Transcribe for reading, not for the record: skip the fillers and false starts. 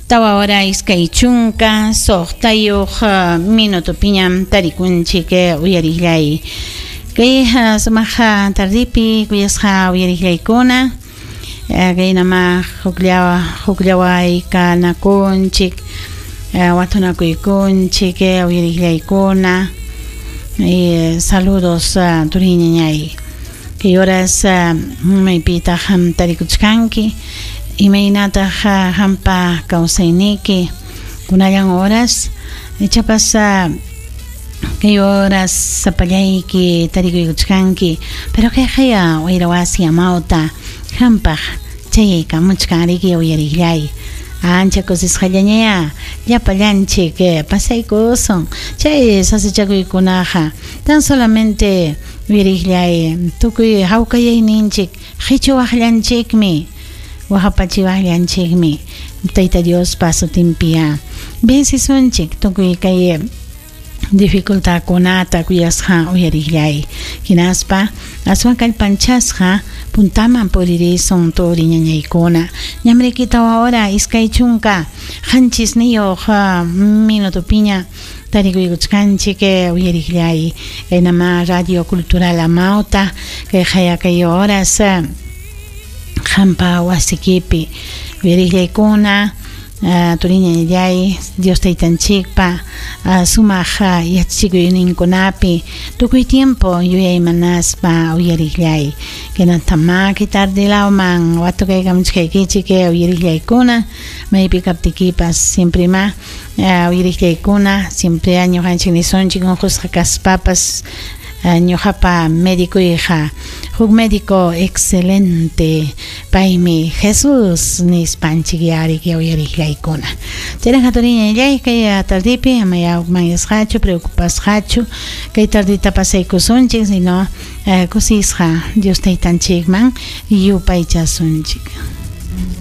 Tawa hora 26 minutopiñam tarikunchik uyariqllay. Kay sumaq tardipi kuyasqa uyariqllaykuna, kaynama hukllawa hukllawaykaanakunchik, watunakuykunchik uyariqllaykuna. Saludos turiñañay. Kay horas maypitaq tarikuchkanki, imaynataq hampa kawsayniki kunallan horas ichapas kay horas sapallayki tarikuykuchkanki, pero kayqaya wayra wasi amawta hampaq chayaykamuchkan riki uyariqllay. Ancha kusisqallañaya llapallanchik pasaykusun chay sasachakuykunaqa tan solamente uyariqllay tukuy hawkayayninchik qichuwaqllanchikmi waqapachiwaqllanchikmi Tayta Diospa sutinpiya vencisunchik tukuy kay dificultadkunata kuyasqa uyariqllay hinaspa aswan kallpanchasqa puntaman puririsun turi ñañaykuna ñamriki 4 hora 27 minutopiña tarikuykuchkanchik uyariqllay kaynama Radio Cultural Amauta kay qaya kay horas hampa wasikipi uyariqllaykuna turiñañallay Dios taytanchikpa sumaq yachachikuyninkunapi tukuy tiempo yuyaymanaspa uyariqllay kaynatamá kay tardilawman watukaykamuchkaykichik uyariqllaykuna maypi kaptikipas siempre ma uyariqllaykuna siempre ñuqanchik nisunchik unqusqa kaspapas ñuqapa médicoyqa huk médico excelente paymi Jesús nispanchik yariki uyariqllaykuna chayraqa turiñallay kay tardipi amaya hukmanyasqachu preocupasqachu kay tardita pasaykusunchik sino kusisqa Dios taytanchikman yupaychasunchik.